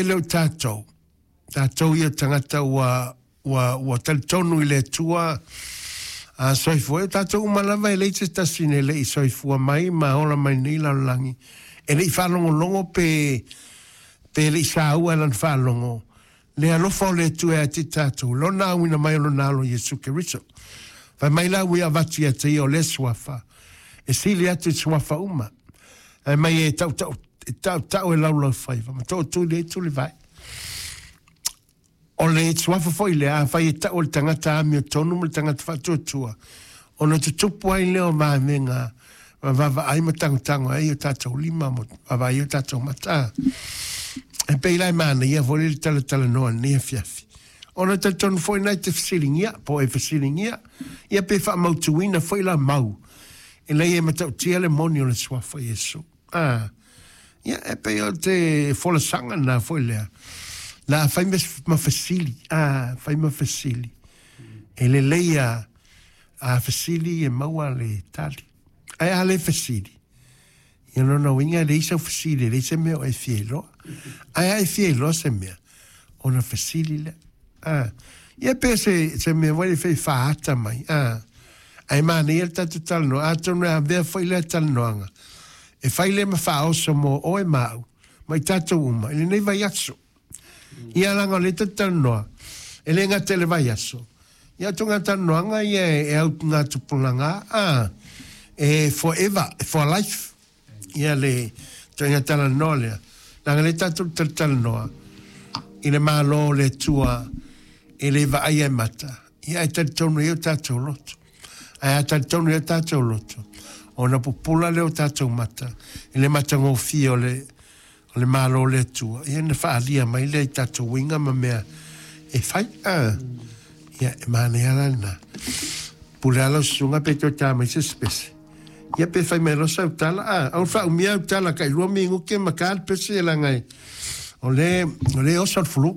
mea lea o tatou, tatou ia tagata ua talitonu i le Atua a soifua, o tatou uma lava e leai se tasi e le i soifua mai ma ola mai nei lalolagi, e le i faalogologo pe le i saua e lana faalogo, le alofa o le Atua ia te tatou, lona auina mai o lona alo Iesu Keriso. Fai mai la ua avatu ia te ia o le suafa, e sili atu i suafa uma. Fai mai e tautau e laulaufaiva, ma tootuli ai tulivae. O le suafa foi lea, afai e tau o le tagata amiotonu ma le tagata faatuatua, ona tutupu ai lea o vavega, vaavaai ma tagotago ai o tatou lima, ma vaavaai o tatou mata. E pei la e manaia foi le talatalanoa lenei afiafi. Ona talitonu foi nai te fesiligia, po e fesiligia, ia pe faamautuina foi la mau, e lei e matautia le moni o le suafa Iesu. Ia e pei o te folasaga na foi lea. La fai ma fesili, fai ma fesili. E lelei a fesili e maua le tali. Ae a le fesili, ia lona uiga e leai sau fesili, e leai se mea o e fia iloa. Ae a e fia iloa se mea, ona fesili lea. Ia pe se mea foi le faaata mai. Ae manaia le tatou talanoa, atonu e avea foi lea talanoaga, e fai le ma faaoso mo oe ma au, ma i tatou uma, i lenei vaiaso. Ia laga o le tatou talanoa, e le gata i le vaiaso, ia atu ngā talanoaga ia e au ngā tupulaga, e forever, for life. Ia le ituaiga talanoa lea. Leaga le tatou talatalanoa i le Malo o le Atua e le vaaia e mata, ia e talitonu ai o tatou loto. Ae a talitonu ai o tatou loto, ona pupula lea o tatou mata i le matagofie o le Malo o le Atua, ia na faalia mai lea i tatou uiga ma mea e fai. Ia e manaia la lena. Pule ala o susuga pe toe tā mai se pese. Ia pe fai mai loa sau tala, au faaumia au tala kai 2 minuti ma ka le pese laga o le oso le flu.